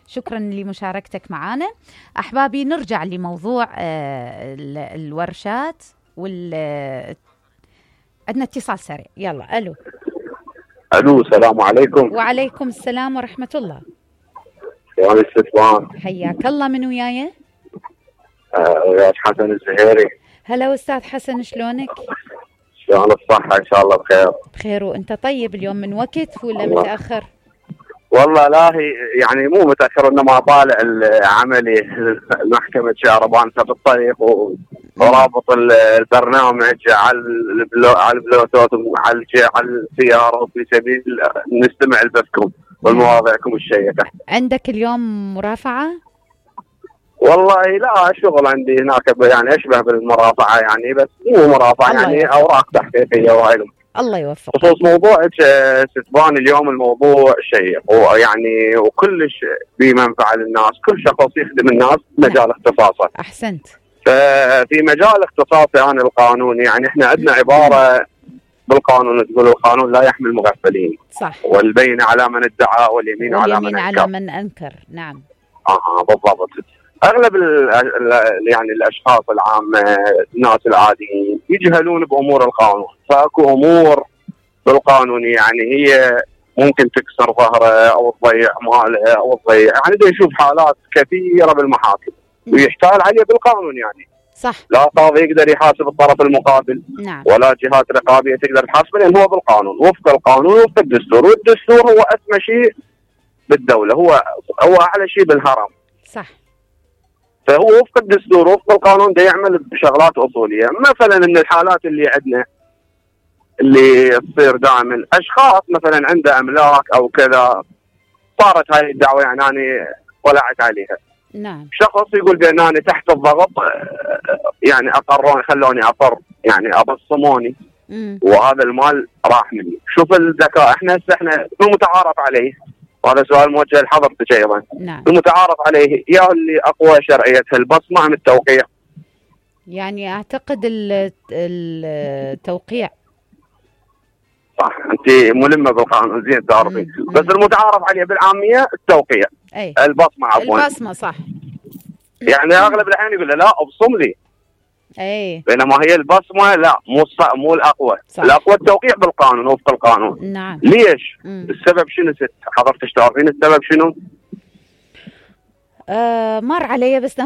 شكرا لمشاركتك معنا. أحبابي، نرجع لموضوع الورشات عندنا اتصال سريع. يلا. الو، السلام عليكم. وعليكم السلام ورحمة الله. شلون الاستثمار؟ حياك الله. من وياي؟ وياك حسن الزهيري. هلا أستاذ حسن، شلونك؟ شلون الصحة؟ إن شاء الله بخير. بخير. وأنت طيب؟ اليوم من وقت ولا متأخر؟ والله لا، هي يعني مو متأخر، إنما طالع العملي محكمة شهربان في الطريق ورابط البرنامج على البلوتوث وعلى السيارة في سبيل نستمع لبثكم والمواضيعكم الشيقة. عندك اليوم مرافعة؟ والله لا، شغل عندي هناك يعني أشبه بالمرافعة يعني، بس مو مرافعة يعني، أوراق تحقيقية وهاي. الله يوفقك. بخصوص موضوعك ستبان اليوم الموضوع شيق ويعني وكلش بمنفعة للناس، كل شخص يخدم الناس مجال اختصاصه. أحسنت. ففي مجال اختصاصي أنا القانون، يعني احنا عندنا عبارة بالقانون تقول القانون لا يحمي المغفلين. صح. والبينة على من ادعى واليمين على من أنكر. نعم. بالضبط. اغلب يعني الاشخاص العامه، الناس العاديين يجهلون بامور القانون، فاكو امور بالقانون يعني هي ممكن تكسر ظهره او تضيع ماله او تضيع، يعني دا يشوف حالات كثيره بالمحاكم ويحتال عليه بالقانون يعني. صح. لا قاضي يقدر يحاسب الطرف المقابل. نعم. ولا جهات رقابيه تقدر تحاسبه، لان هو بالقانون، وفق القانون وفق الدستور، والدستور هو اسمى شيء بالدوله، هو اعلى شيء بالهرم. صح. فهو وفق الدستور وفق القانون ده يعمل بشغلات اصوليه، مثلا من الحالات اللي عندنا اللي تصير دائما اشخاص مثلا عنده املاك او كذا، صارت هاي الدعوه يعني انا طلعت عليها. نعم. شخص يقول بان انا تحت الضغط يعني اقروني، خلوني اقر يعني ابصموني وهذا المال راح مني. شوف الذكاء، احنا المتعارف عليه، وهذا سؤال موجه لحضرتك ايضا. نعم. المتعارف عليه يا اللي اقوى شرعيتها البصمه ام التوقيع؟ يعني اعتقد التوقيع. صح، انت ملمه بالقانون زين تعرفي، بس المتعارف عليه بالعاميه التوقيع. البصمه عفوا. البصمه صح. يعني اغلب الاحيان يقول لا ابصم لي. بينما هي البصمه لا، مو الاقوى. صح. الاقوى التوقيع بالقانون وفق القانون. نعم. ليش؟ السبب شنو حضرتك تعرفين السبب شنو؟ مر علي بس